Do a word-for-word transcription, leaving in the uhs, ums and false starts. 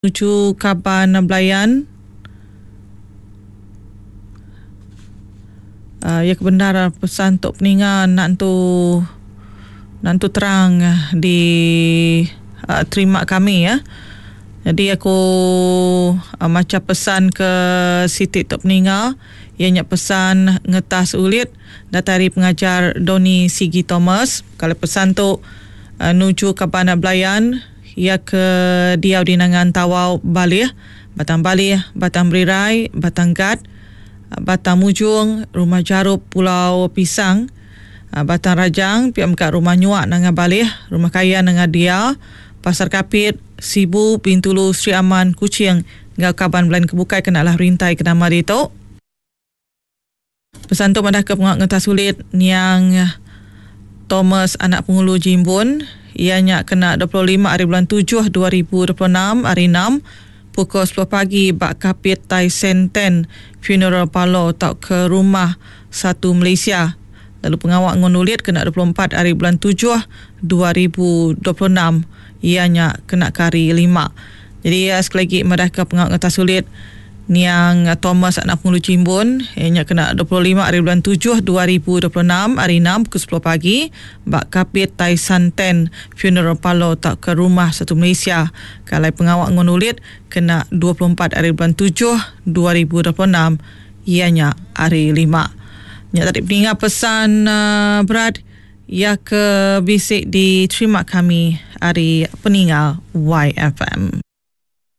Nuju kaban belayan uhh iya ke bendar pesan tu peninga enda entu enda entu terang di uhh terima kami yah. Jadi aku macha pesan ke siti tu peninga iya nya pesan ngetas ulit datai ari pengajar Donny Sigi Thomas. Kalau pesan tu nuju kaban belayan iya ke diau di Nangan Tawau Balih, Batang Balih, Batang Berirai, Batang Gat, Batang Mujong, Rumah Jarup Pulau Pisang, Batang Rajang, pia mega Rumah Nyuak Nanga Balih, Rumah Kayan Nanga Dia, Pasar Kapit, Sibu, Bintulu, Sri Aman, Kuching enggau kaban belayan ke bukai ke enda alah rintai ke nama ditu. Pesan tu madahka pengawa ngetas ulit niang Thomas anak Pengulu Jimbun iya nya kena dua puluh lima hari bulan tujuh dua ribu dua puluh enam hari enam pukul sepuluh pagi ba Kapit Tai Sen Ten Funeral Parlour tauka Rumah Satu Malaysia. Lalu pengawa ngun ulit kena dua puluh empat hari bulan tujuh dua ribu dua puluh enam iya nya kena ke hari lima. Jadi sekali lagi madahka pengawa ngetas ulit niang Thomas anak Pengulu Jimbun iya nya kena dua puluh lima hari bulan tujuh dua ribu dua puluh enam hari enam pukul sepuluh pagi ba Kapit Tai San Ten Funeral Parlour tauka Rumah Satu Malaysia. Kalai pengawa ngun ulit kena dua puluh empat hari bulan tujuh dua ribu dua puluh enam iya nya hari lima. Nya tadi peninga pesan uh, berat iya ke bisi diterima kami hari peninga Y F M.